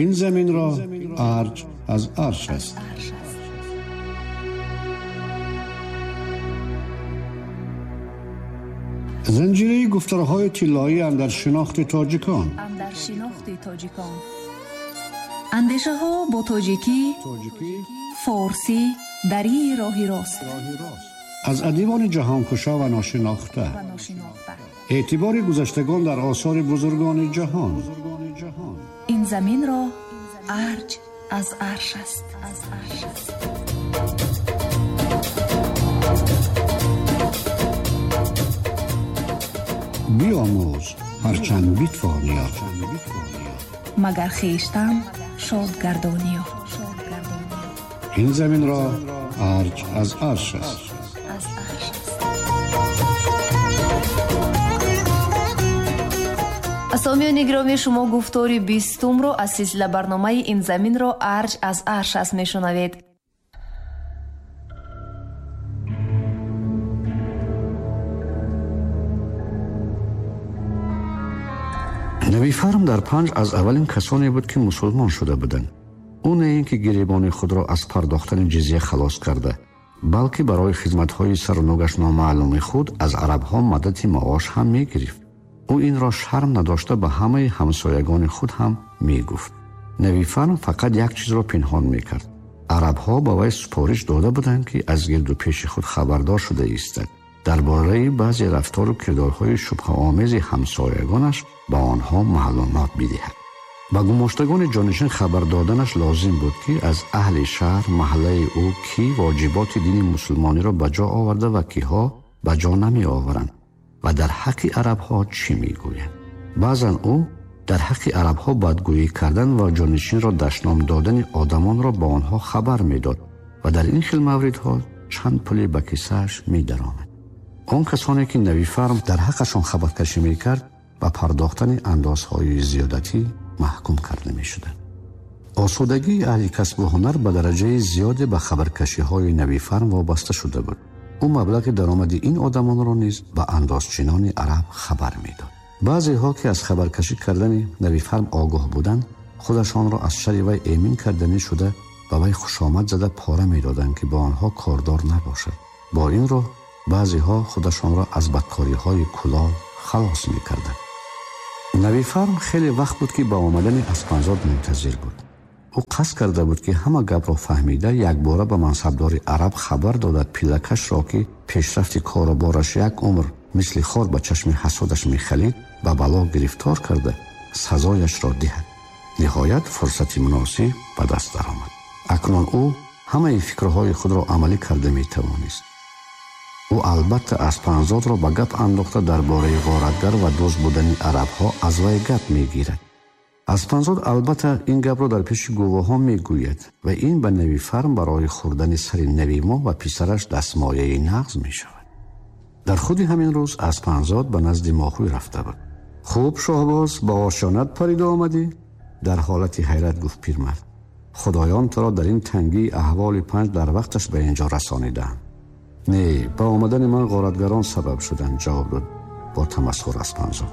Ин заминро арҷ аз арш аст. Занҷираи гуфторҳои тиллоӣ андар шинохти тоҷикон. Андешаҳо бо тоҷикӣ, форсӣ, дарии роҳи рост. Аз адибони ҷаҳонкушо ва ношинохта. Эътибори гузаштагон дар осори бузургони ҷаҳон. Ин заминро арҷ аз арш аст. Биомӯз ҳарчанд битвонӣ, магар хештан шод гардонӣ. Ин заминро арҷ аз арш аст. Сомиёни гиромӣ, шумо гуфтори 20-умро аз силсила барномаи ин заминро арҷ аз арш аст мешунавед. Навифарм дар Панҷ аз аввалин касоне буд, ки мусулмон шуда буданд. Ӯ на ин ки гиребони худро аз пардохтани ҷизя халос карда, балки барои хизматҳои саруногаш номаълуми худ аз арабҳо мадади маош ҳам мегирифт. Ӯ инро шарм надошта ба ҳамаи ҳамсоягони худ ҳам мегуфт. Навифарм фақат як чизро пинҳон мекард. Арабҳо ба вай супориш дода буданд, ки аз гирду пеши худ хабардор шуда истад. Дар бораи баъзе рафтору кирдорҳои шубҳаомези ҳамсоягонаш ба онҳо маълумот бидиҳад. Ба гумоштагони ҷонишин хабар доданаш лозим буд, ки аз аҳли шаҳр маҳаллаи ӯ кӣ воҷиботи дини мусулмониро ба ҷо оварда ва киҳо ба ҷо намеоваранд ва дар ҳаққи арабҳо чӣ мегӯянд. Баъзан ӯ дар ҳаққи арабҳо бадгӯӣ кардан ва ҷонишинро дашном додани одамонро ба онҳо хабар медод ва дар ин хел мавридҳо чанд пуле ба кисааш медаромад. Он касоне ки Навифарм дар ҳаққашон хабаркашӣ мекард, ба пардохтани андозҳои зиёдатӣ маҳкум карда мешуданд. Осудагии аҳли касбу ҳунар ба дараҷаи зиёде ба хабаркашиҳои Навифарм вобаста шуда буд. Ӯ маблағи даромади ин одамонро низ ба андозчинони араб хабар медод. Баъзеҳо, ки аз хабаркашӣ кардани Навифарм огоҳ буданд, худашонро аз шари вай эмин карданӣ шуда ба вай хушомад зада пора медоданд, ки бо онҳо кордор набошад. Бо ин роҳ баъзеҳо худашонро аз бадкориҳои кулол халос мекарданд. Навифарм хеле вақт буд, ки ба омадани Аспанзод мунтазир буд. Ӯ қасд карда буд, ки ҳама гапро фаҳмида якбора ба мансабдори араб хабар додад пиллакашро, ки пешрафти кору бораш як умр мисли хор ба чашми ҳасудаш мехалид, ба бало гирифтор карда сазояшро диҳад. Ниҳоят фурсати муносиб ба даст даромад. Акнун ӯ ҳамаи фикрҳои худро амалӣ карда метавонист. Ӯ албатта Аспанзодро ба гап андохта дар бораи ғоратгар ва дузд будани арабҳо аз вай гап мегирад. Аспанзод албатта ин гапро дар пеши гувоҳон мегӯяд ва ин ба Навифарм барои хӯрдани сари Навимо ва писараш дастмояи нағз мешавад. Дар худи ҳамин рӯз Аспанзод ба назди Моҳӯй рафта буд. Хуб, шоҳбоз, ба ошёнат парида омадӣ? Дар ҳолати ҳайрат гуфт пирмард. Худоён туро дар ин тангии аҳволи Панҷ дар вақташ ба инҷо расонидаанд. Не, ба омадани ман ғоратгарон сабаб шуданд, ҷавоб дод бо тамасхур Аспанзод.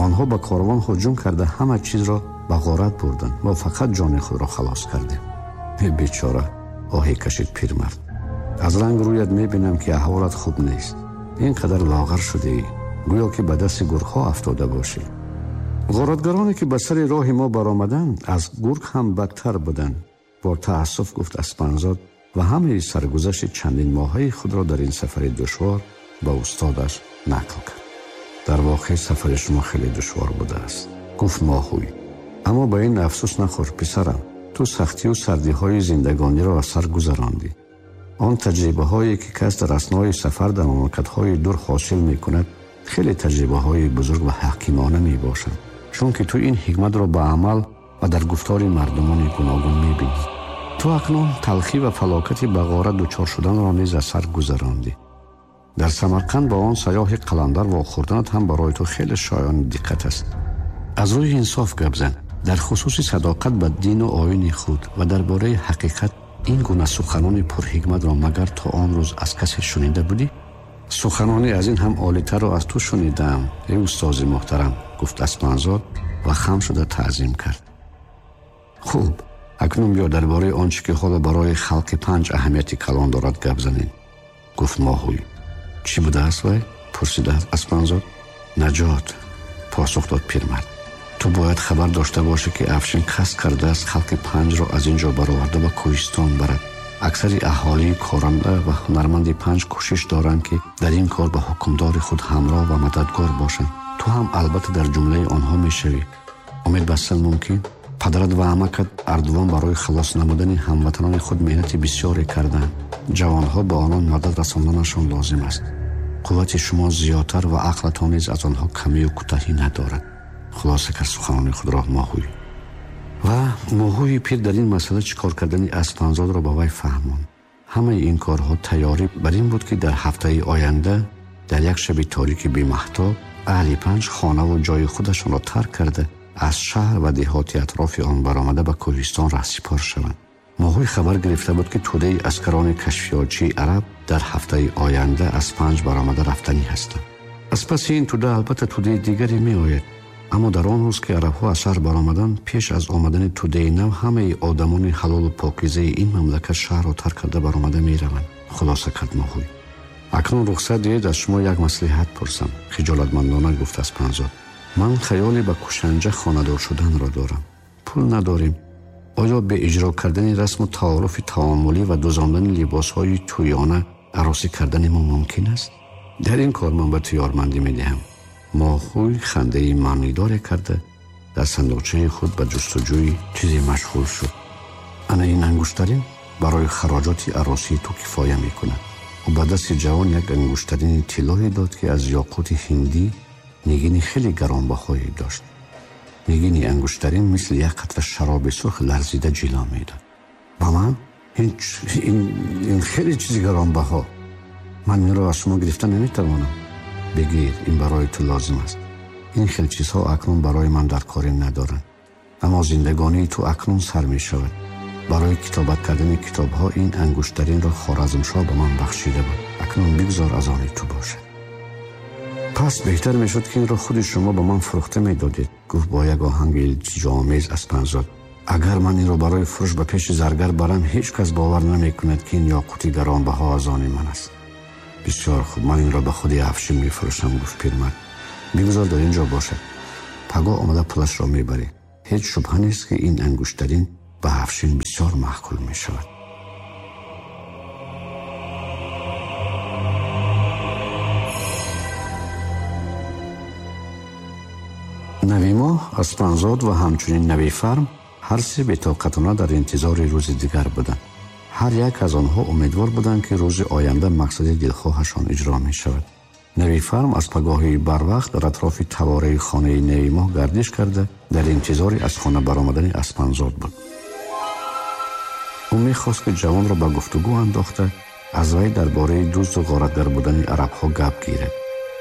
Онҳо ба корвон ҳуҷум карда ҳама чизро ба ғорат бурданд. Мо фақат ҷони худро халос кардем. Бечора, оҳе кашид пирмард. Аз ранг рӯят мебинам, ки аҳволат хуб нест. Ин қадар лоғар шудаӣ, гӯё ки ба дасти гургҳо афтода бошӣ. Ғоратгароне ки ба сари роҳи мо баромаданд, аз гург ҳам бадтар буданд, бо таассуф гуфт Аспанзод ва ҳамаи саргузашти чандин моҳаи худро дар ин сафари душвор ба устодаш нақл кард. Дар воқеъ сафари шумо хеле душвор будааст, гуфт Моҳӯй. Аммо ба ин афсӯс нахӯр, писарам. Ту сахтию сардиҳои зиндагониро аз сар гузарондӣ. Он таҷрибаҳое ки кас дар аснои сафар дар мамлакатҳои дур ҳосил мекунад, хеле таҷрибаҳои бузург ва ҳакимона мебошанд, чунки ту ин ҳикматро ба амал ва дар гуфтори мардумони гуногун мебинӣ. Ту акнун талхӣ ва фалокати ба ғорат дучор шуданро низ аз сар гузарондӣ. Дар Самарқанд ба он сайёҳи қаландар вохӯрданат ҳам барои ту хеле шоёни диққат аст. Аз рӯи инсоф гап зан, дар хусуси садоқат ба дину оини худ ва дар бораи ҳақиқат ин гуна суханони пурҳикматро магар то он рӯз аз касе шунида будӣ? Суханони аз ин ҳам олитарро аз ту шунидаам, эй устози муҳтарам, гуфт Аспанзод ва хам шуда таъзим кард. Хуб, акнун биё дар бораи он чӣ ки ҳоло барои халқи Панҷ аҳамияти калон дорад гап занем, гуфт Моҳуй. Чӣ будааст вай? Пурсид Аспанзод. Наҷот, посух дод пирмард. Ту бояд хабар дошта бошӣ, ки Афшин қасд кардааст халқи Панҷро аз ин ҷо бароварда ба кӯҳистон барад. Аксари аҳолии коранда ва ҳунарманди Панҷ кӯшиш доранд, ки дар ин кор ба ҳукмдори худ ҳамроҳ ва мададгор бошанд. Ту ҳам албатта дар ҷумлаи онҳо мешавӣ. Умед бастан мумкин? Падарат ва амакат Ардувон барои халос намудани ҳамватанони худ меҳнати бисёре карданд. Ҷавонҳо ба онон мадад расонданашон лозим аст. Қуввати шумо зиёдтар ва ақлатон низ аз онҳо камию кӯтаҳӣ надорад. Хулоса кард суханони худро Моҳуй. Ва Моҳуи пир дар ин масъала чӣ кор кардани Аспанзодро ба вай фаҳмонд. Ҳамаи ин корҳо тайёрӣ бар ин буд, ки дар ҳафтаи оянда дар як шаби торики бемаҳтоб аҳли Панҷ хонаву ҷои худашонро тарк карда аз шаҳр ва деҳоти атрофи он баромада ба кӯҳистон раҳсипор шаванд. Моҳуй хабар гирифта буд, ки тӯдаи аскарони кашфиётчии араб дар ҳафтаи оянда аз Панҷ баромада рафтанӣ ҳастанд. Аз паси ин тӯда албатта тӯдаи дигаре меояд, аммо дар он рӯз ки арабҳо аз шаҳр баромаданд, пеш аз омадани тӯдаи нав ҳамаи одамони ҳалолу покизаи ин мамлакат шаҳрро тарк карда баромада мераванд, хулоса кард Моҳуй. Акнун рухсат диҳед аз шумо як маслиҳат пурсам, хиҷолатмандона гуфт Аспанзод. Ман хаёле ба Кушанҷа хонадор шуданро дорам. Пул надорем. Оё бе иҷро кардани расму таоруфи таомулӣ ва дӯзондани либосҳои тӯёна арӯсӣ кардани мо мумкин аст? Дар ин кор ман ба ту ёрмандӣ медиҳам. Моҳуй хандаи маънидоре карда дар сандуқчаи худ ба ҷустуҷӯи чизе машғул шуд. Ана ин ангуштарин барои хароҷоти арӯсии ту кифоя мекунад. Ӯ ба дасти ҷавон як ангуштарини тиллое дод, ки аз ёқути ҳиндӣ нигини хеле гаронбаҳое дошт. Нигини ангуштарин мисли як қатра шароби сурх ларзида ҷило медод. Ба ман ин хеле чизи гаронбаҳо. Ман инро аз шумо гирифта наметавонам. Бигир, ин барои ту лозим аст. Ин хел чизҳо акнун барои ман дар корӣ надоранд. Аммо зиндагонии ту акнун сар мешавад. Барои китобат кардани китобҳо ин ангуштаринро Хоразмшоҳ ба ман бахшида буд. Акнун бигзор аз они ту бошад. Пас беҳтар мешуд, ки инро худи шумо ба ман фурӯхта медодед, гуфт бо як оҳанги илтиҷоомез Аспанзод. Агар ман инро барои фурӯш ба пеши заргар барам, ҳеҷ кас бовар намекунад, ки ин ёқути гаронбаҳо аз они ман аст. Бисёр хуб, ман инро ба худи Афшин мефурӯшам, гуфт пирмард. Бигзор дар ин ҷо бошад. Пагоҳ омада пулашро мебарӣ. Ҳеҷ шубҳа нест, ки ин ангуштарин ба Афшин бисёр маъқул мешавад. Навимоҳ, Аспанзод ва ҳамчунин Навифарм ҳар се бетоқатона дар интизори рӯзи дигар буданд. Ҳар як аз онҳо умедвор буданд, ки рӯзи оянда мақсади дилхоҳашон иҷро мешавад. Навифарм аз пагоҳии барвақт дар атрофи тавораи хонаи Навимоҳ гардиш карда дар интизори аз хона баромадани Аспанзод буд. Ӯ мехост, ки ҷавонро ба гуфтугӯ андохта аз вай дар бораи дузду ғоратгар будани арабҳо гап гирад.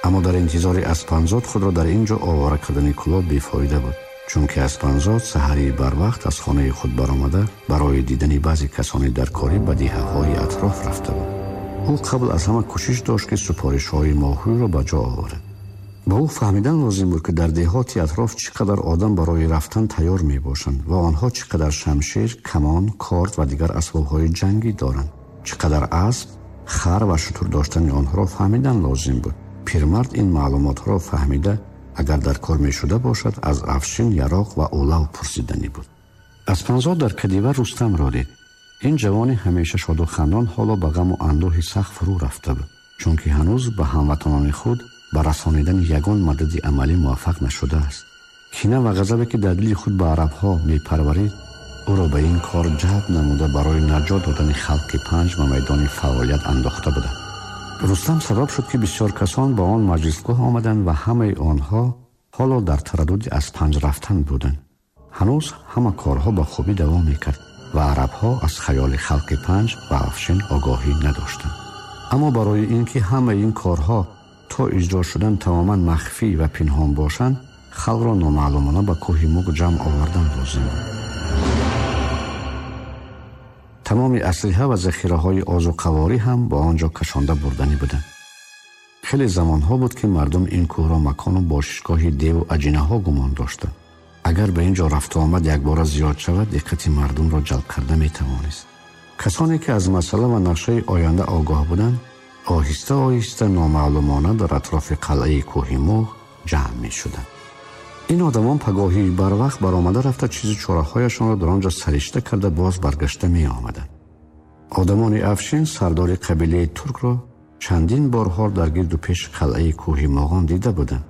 Аммо дар интизори Аспанзод худро дар ин ҷо овора кардани кулоб бефоида буд, чунки Аспанзод саҳарии барвақт аз хонаи худ баромада барои дидани баъзе касони дар корӣ ба деҳаҳои атроф рафта буд. Ӯ қабл аз ҳама кӯшиш дошт, ки супоришҳои Моҳуйро ба ҷо оварад. Ба ӯ фаҳмидан лозим буд, ки дар деҳоти атроф чӣ қадар одам барои рафтан тайёр мебошанд ва онҳо чӣ қадар шамшер, камон, корд ва дигар асбобҳои ҷангӣ доранд. Чӣ қадар асб, хар ва шутур доштани онҳоро фаҳмидан лозим буд. Пирмард ин маълумотҳоро фаҳмида агар дар кор мешуда бошад, аз Афшин яроқ ва улав пурсиданӣ буд. Аспанзод дар кадива Рустамро дид. Ин ҷавони ҳамеша шоду хандон ҳоло ба ғаму андӯҳи сахт фурӯ рафта буд, чунки ҳанӯз ба ҳамватанони худ ба расонидани ягон мадади амалӣ муваффақ нашудааст. Кина ва ғазабе ки дар дили худ ба арабҳо мепарварид, ӯро ба ин кор ҷалб намуда барои наҷот додани халқи Панҷ ба майдони фаъолият андохта буданд. Рустам сабаб шуд, ки бисёр касон ба он маҷлисгоҳ омаданд ва ҳамаи онҳо ҳоло дар тараддуди аз Панҷ рафтан буданд. Ҳанӯз ҳама корҳо ба хубӣ давом мекард ва арабҳо аз хаёли халқи Панҷ ва Афшин огоҳӣ надоштанд. Аммо барои ин ки ҳамаи ин корҳо то иҷро шудан тамоман махфӣ ва пинҳон бошанд, халқро номаълумона ба кӯҳи Муғ ҷамъ овардан лозим буд. Тамоми аслиҳа ва захираҳои озуқаворӣ ҳам ба он ҷо кашонда бурданӣ буданд. Хеле замонҳо буд, ки мардум ин кӯҳро макону бошишгоҳи деву аҷинаҳо гумон доштанд. Агар ба ин ҷо рафту омад якбора зиёд шавад, диққати мардумро ҷалб карда метавонист. Касоне ки аз масъала ва нақшаи оянда огоҳ буданд, оҳиста оҳиста номаълумона дар атрофи қалъаи кӯҳи Муғ ҷамъ мешуданд. Ин одамон пагоҳии барвақт баромада рафта чизу чораҳояшонро дар он ҷо саришта карда боз баргашта меомаданд. Одамони Афшин сардори қабилаи туркро чандин борҳо дар гирду пеши қалъаи кӯҳи Муғон дида буданд.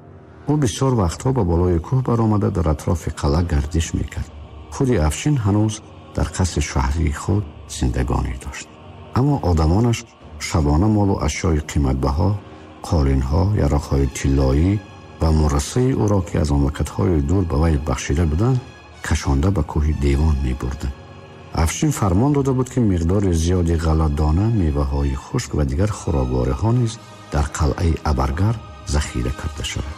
Ӯ бисёр вақтҳо ба болои кӯҳ баромада дар атрофи қалъа гардиш мекард. Худи Афшин ҳанӯз дар қасри шаҳрии худ зиндагонӣ дошт. Аммо одамонаш шабона молу ашёи қиматбаҳо, қолинҳо, яроқҳои тиллоӣ ва мурасаи ӯро, ки аз мамлакатҳои дур ба вай бахшида буданд, кашонда ба кӯҳи Девон мебурданд. Афшин фармон дода буд, ки миқдори зиёди ғалладона, меваҳои хушк ва дигар хӯроквориҳо низ дар қалъаи Абаргар захира карда шавад.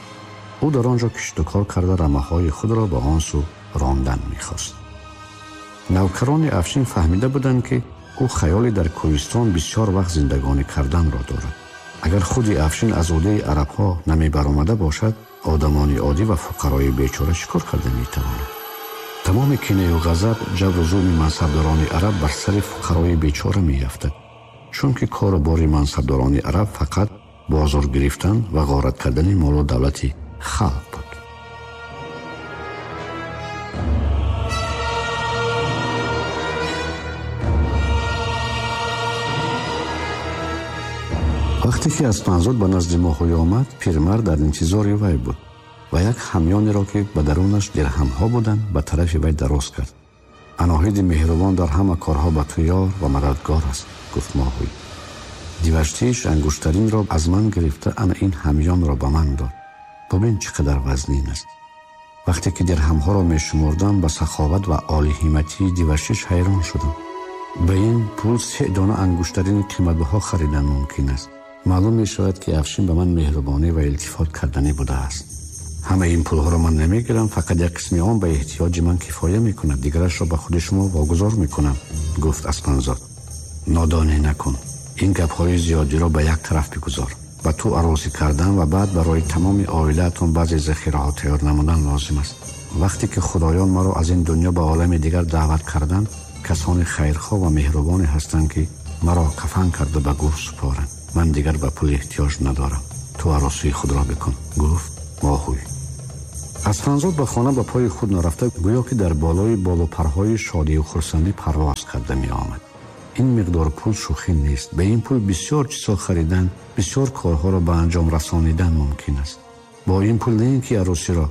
Ӯ дар он ҷо киштукор карда рамаҳои худро ба он сӯ рондан мехост. Навкарони Афшин фаҳмида буданд, ки ӯ хаёле дар кӯҳистон бисёр вақт зиндагонӣ карданро дорад. Агар худи Афшин аз ӯдаи арабҳо намебаромада бошад, одамони оддӣ ва фуқарои бечора чӣ кор карда метавонанд? Тамоми кинаю ғазаб, ҷабру зулми мансабдорони араб бар сари фуқарои бечора меафтад, чунки кору бори мансабдорони араб фақат бозор гирифтан ва ғорат кардани молу давлати халқ буд. Вақте ки Аспанзод ба назди Моҳуй омад, пирмард дар интизори вай буд ва як ҳамёнеро, ки ба дарунаш дирҳамҳо буданд, ба тарафи вай дароз кард. Аноҳиди меҳрубон дар ҳама корҳо ба ту ёр ва мададгор аст, гуфт Моҳуй. Диваштиш ангуштаринро аз ман гирифта ана ин ҳамёнро ба ман дод. Бубин чӣ қадар вазнин аст. Вақте ки дирҳамҳоро мешумурдам, ба саховат ва олиҳиматии Диваштиш ҳайрон шудам. Ба ин пул 3 дона ангуштарини қиматбаҳо харидан мумкин аст. Маълум мешавад, ки Афшин ба ман меҳрубонӣ ва илтифот карданӣ будааст. Ҳамаи ин пулҳоро ман намегирам, фақат як қисми он ба эҳтиёҷи ман кифоя мекунад, дигарашро ба худи шумо вогузор мекунам, гуфт Аспанзод. Нодонӣ накун, ин гапҳои зиёдиро ба як тараф бигузор. Ба ту арӯсӣ кардан ва баъд барои тамоми оилаатон баъзе захираҳо тайёр намудан лозим аст. Вақте ки худоён маро аз ин дунё ба олами дигар даъват карданд, касони хайрхоҳ ва меҳрубоне ҳастанд, ки маро кафан карда ба гӯр супоранд. Ман дигар ба пул эҳтиёҷ надорам. Ту арӯсии худро бикун, гуфт Моҳуй. Аспанзод ба хона ба пои худ нарафта, гӯё ки дар болои болупарҳои шодию хурсандӣ парвоз карда меомад. Ин миқдор пул шӯхӣ нест. Ба ин пул бисёр чизҳо харидан, бисёр корҳоро ба анҷом расонидан мумкин аст. Бо ин пул не ин ки арӯсиро,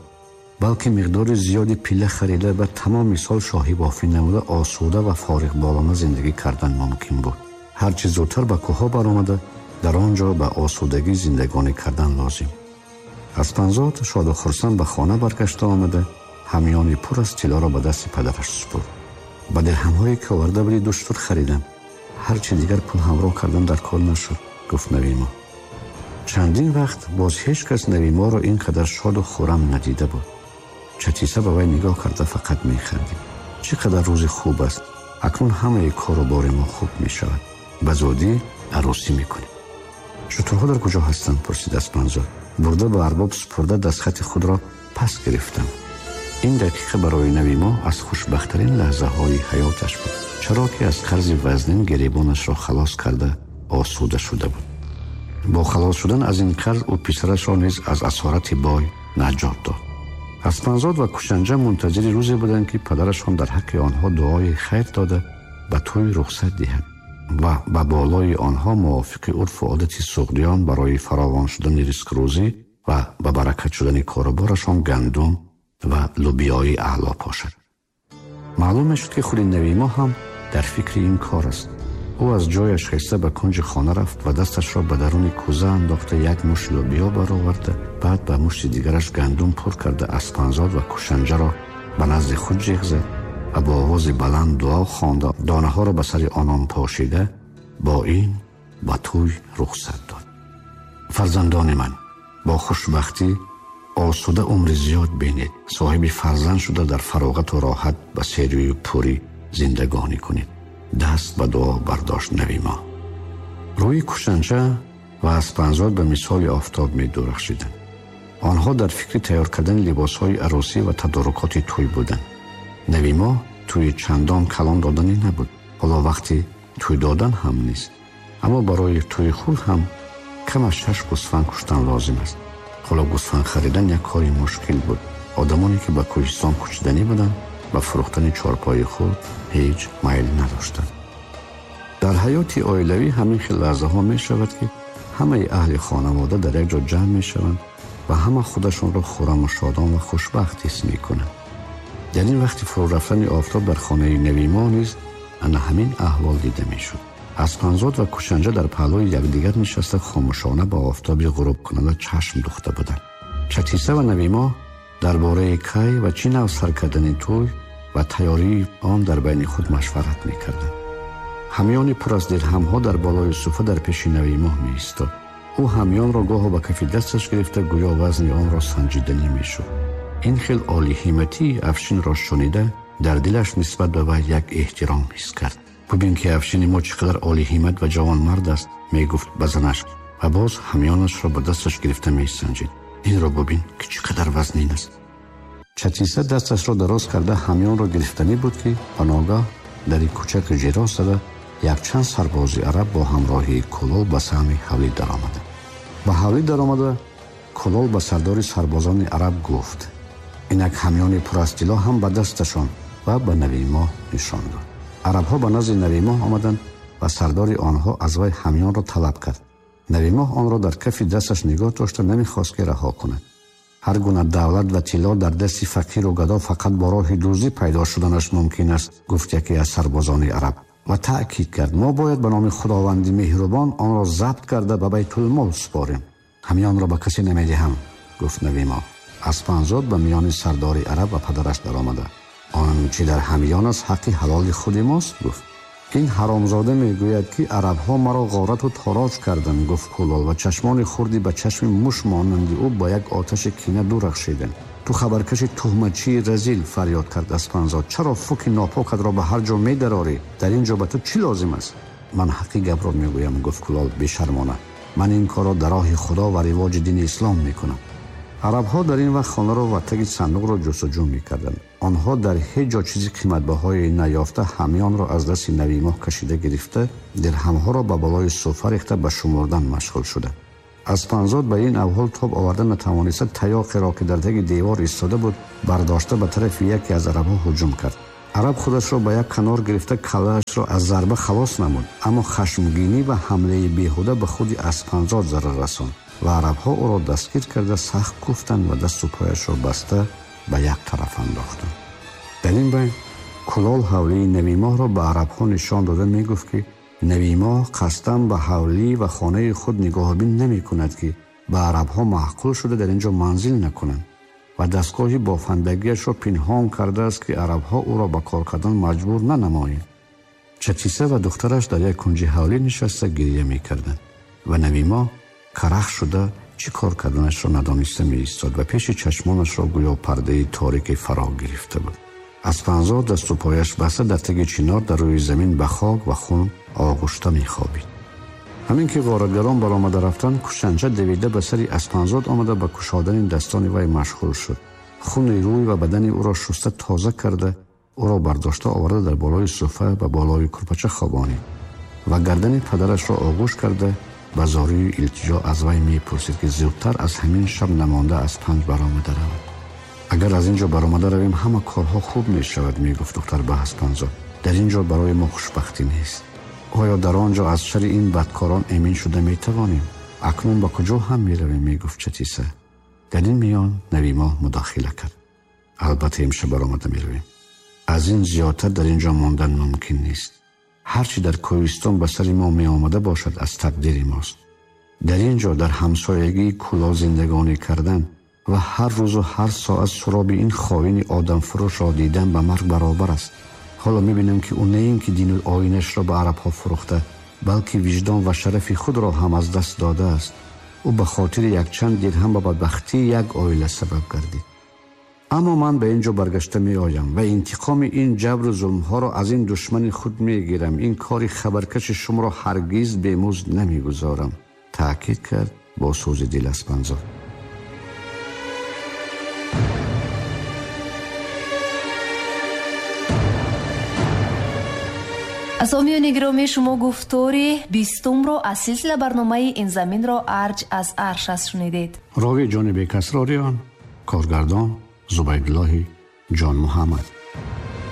балки миқдори зиёди пилла харида ба тамоми сол шоҳӣ бофӣ намуда осуда ва фориғболона зиндагӣ кардан мумкин буд. Ҳарчи зудтар ба кӯҳҳо баромада, дар он ҷо ба осудагӣ зиндагонӣ кардан лозим. Аспанзод шоду хурсанд ба хона баргашта омада, ҳамёни пур аз тиллоро ба дасти падараш супурд. Ба дирҳамҳое ки оварда будӣ 2 шутур харидам. Ҳарчи дигар пул ҳамроҳ кардан дар кор нашуд, гуфт Навимо. Чандин вақт боз ҳеҷ кас Навиморо ин қадар шоду хуррам надида буд. Чатиса ба вай нигоҳ карда фақат механдид. Чӣ қадар рӯзи хуб аст. Акнун ҳамаи кору бори мо хуб мешавад. Ба зудӣ арӯсӣ мекунем. Шутурҳо дар куҷо ҳастанд? Пурсид Аспанзод. Бурда ба арбоб супурда дастхати худро пас гирифтам. Ин дақиқа барои Навимо аз хушбахттарин лаҳзаҳои ҳаёташ буд, чаро ки аз қарзи вазнин гиребонашро халос карда осуда шуда буд. Бо халос шудан аз ин қарз ӯ писарашро низ аз асорати бой наҷот дод. Аспанзод ва Кушанҷа мунтазири рӯзе буданд, ки падарашон дар ҳаққи онҳо дуои хайр дода ба тӯй рухсат диҳад ва ба болои онҳо мувофиқи урфу одати суғдиён барои фаровон шудани ризқрӯзӣ ва ба баракат шудани коруборашон гандум ва лубиёи аъло пошад. Маълум мешуд, ки худи Навимо ҳам дар фикри ин кор аст. Ӯ аз ҷояш хеста ба кунҷи хона рафт ва дасташро ба даруни кӯза андохта як мушт лӯбиё бароварда, баъд ба мушти дигараш гандум пур карда Аспанзод ва Кушанҷаро ба назди худ ҷиғ зад ва бо овози баланд дуо хонда донаҳоро ба сари онон пошида бо ин ба тӯй рухсат дод. Фарзандони ман, бо хушбахтӣ осуда умри зиёд бинед, соҳиби фарзанд шуда дар фароғату роҳат ба серию пурӣ зиндагонӣ кунед. Даст ба дуо бардошт Навимо. Рӯи Кушанҷа ва Аспанзод ба мисоли офтоб медурахшиданд. Онҳо дар фикри тайёр кардани либосҳои арӯсӣ ва тадорукоти тӯй буданд. Навимоҳ тӯи чандон калон доданӣ набуд. Ҳоло вақти тӯй додан ҳам нест. Аммо барои тӯи худ ҳам кам аз 6 гӯсфанд куштан лозим аст. Ҳоло гӯсфанд харидан як кори мушкил буд. Одамоне ки ба кӯҳистон кӯчиданӣ буданд, ба фурӯхтани чорпои худ ҳеҷ майл надоштанд. Дар ҳаёти оилавӣ ҳамин хел лаҳзаҳо мешавад, ки ҳамаи аҳли хонавода дар як ҷо ҷамъ мешаванд ва ҳама худашонро хурраму шодон ва хушбахт ҳис мекунанд. Дар ин вақти фурӯ рафтани офтоб дар хонаи Навимоҳ низ ана ҳамин аҳвол дида мешуд. Аспанзод ва Кушанҷа дар паҳлӯи якдигар нишаста хомӯшона ба офтоби ғурубкунанда чашм духта буданд. Чатиса ва Навимоҳ дар бораи кай ва чӣ нав сар кардани тӯй ва тайёрии он дар байни худ машварат мекарданд. Ҳамёни пур аз дирҳамҳо дар болои суфа дар пеши Навимоҳ меистод. Ӯ ҳамёнро гоҳо ба кафи дасташ гирифта, гӯё вазни онро санҷиданӣ мешуд. Ин хел олиҳиматии Афшинро шунида, дар дилаш нисбат ба вай як эҳтиром ҳис кард. Бубин ки Афшини мо чӣ қадар олиҳимат ва ҷавонмард аст, мегуфт ба занаш ва боз ҳамёнашро ба дасташ гирифта месанҷид. Инро бубин ки чӣ қадар вазнин аст. Чатиса дасташро дароз карда ҳамёнро гирифтанӣ буд, ки ба ногаҳ дари кӯчаки ҷиро зада якчанд сарбози араб бо ҳамроҳии Кулол ба саҳми ҳавлӣ даромада. Ба ҳавлӣ даромада Кулол ба сардори сарбозони араб гуфт: инак ҳамёни пур аз тилло ҳам ба дасташон, ва ба Навимоҳ нишон дод. Арабҳо ба назди Навимоҳ омаданд ва сардори онҳо аз вай ҳамёнро талаб кард. Навимоҳ онро дар кафи дасташ нигоҳ дошта намехост ки раҳо кунад. Ҳар гуна давлат ва тилло дар дасти фақиру гадо фақат бо роҳи дуздӣ пайдо шуданаш мумкин аст, гуфт яке аз сарбозони араб ва таъкид кард: мо бояд ба номи Худованди меҳрубон онро забт карда ба байтулмол супорем. Ҳамёнро ба касе намедиҳам, гуфт Навимоҳ. Аспанзод ба миёни сардори араб ва падараш даромада: он чӣ дар ҳамён аст ҳаққи ҳалоли худи мост, гуфт. Ин ҳаромзода мегӯяд ки арабҳо маро ғорату тороҷ карданд, гуфт Кулол ва чашмони хурди ба чашми муш монанди ӯ ба як оташи кина дурахшиданд. Ту хабаркаши туҳматчии разил, фарёд кард Аспанзод, чаро фуки нопокатро ба ҳар ҷо медарорӣ? Дар ин ҷо ба ту чӣ лозим аст? Ман ҳаққи гапро мегӯям, гуфт Кулол бешармона. Ман ин корро дар роҳи Худо ва ривоҷи дини ислом мекунам. Арабҳо дар ин вақт хонаро ва таги сандуқро ҷустуҷӯ мекарданд. Онҳо дар ҳеҷ ҷо чизи қиматбаҳое наёфта ҳамёнро аз дасти Навимоҳ кашида гирифта, дирҳамҳоро ба болои суфа рехта ба шумурдан машғул шуданд. Аспанзод ба ин аҳвол тоб оварда натавониста таёқеро ки дар таги девор истода буд бардошта ба тарафи яке аз арабҳо ҳуҷум кард. Араб худашро ба як канор гирифта каллаашро аз зарба халос намуд, аммо хашмгинӣ ва ҳамлаи беҳуда ба худи Аспанзод зарар расонд ва арабҳо ӯро дастгир карда сахт куфтанд ва дасту пояшро баста ба як тараф андохтанд. Дар ин байн Кулол ҳавлии Навимоҳро ба арабҳо нишон дода мегуфт ки Навимоҳ қасдан ба ҳавлӣ ва хонаи худ нигоҳбин намекунад, ки ба арабҳо маъқул шуда дар ин ҷо манзил накунанд ва дастгоҳи бофандагиашро пинҳон кардааст, ки арабҳо ӯро ба кор кардан маҷбур нанамоянд. Чатиса ва духтараш дар як кунҷи ҳавлӣ нишаста гирия мекарданд ва Навимоҳ карах шуда чӣ кор карданашро надониста меистод ва пеши чашмонашро гӯё пардаи торике фаро гирифта буд. Аспанзод дасту пояш баста дар таги чинор дар рӯи замин ба хок ва хун оғушта мехобид. Ҳамин ки ғоратгарон баромада рафтанд, Кушанҷа давида ба сари Аспанзод омада ба кушодани дастони вай машғул шуд. Хуни рӯй ва бадани ӯро шуста тоза карда, ӯро бардошта оварда дар болои суфа ба болои курпача хобонид ва гардани падарашро оғӯш карда ба зории илтиҷо аз вай мепурсид, ки зудтар аз ҳамин шаб намонда аз панҷ баромада равад. Агар аз ин ҷо баромада равем, ҳама корҳо хуб мешавад, мегуфт духтар ба Аспанзод. Дар ин ҷо барои мо хушбахтӣ нест. Оё дар он ҷо аз шари ин бадкорон эмин шуда метавонем? Акнун ба куҷо ҳам меравем, мегуфт Чатиса. Дар ин миён Навимоҳ мудохила кард. Албатта имшаб баромада меравем. Аз ин зиёдтар дар ин ҷо мондан мумкин нест. Ҳарчи дар кӯҳистон ба сари мо меомада бошад аз тақдири мост. Дар ин ҷо дар ҳамсоягии Кулол зиндагонӣ кардан ва ҳар рӯзу ҳар соат суроби ин хоини одамфурӯшро дидан ба марг баробар аст. Ҳоло мебинам ки ӯ на ин ки дину оинашро ба арабҳо фурӯхта, балки виҷдон ва шарафи худро ҳам аз даст додааст. Ӯ ба хотири якчанд дирҳам ба бадбахтии як оила сабаб гардид. Аммо ман ба ин ҷо баргашта меоям ва интиқоми ин ҷабру зулмҳоро аз ин душмани худ мегирам. Ин кори хабаркаши шуморо ҳаргиз бемузд намегузорам, таъкид кард бо сӯзи дил Аспанзод. Сомиёни гиромӣ, шумо гуфтори 20-умро аз силсила барномаи «Ин заминро арҷ аз арш аст» шунидед. Ровӣ Ҷонибек Асрориён, коргардон Зубайдуллоҳи Ҷонмуҳаммад.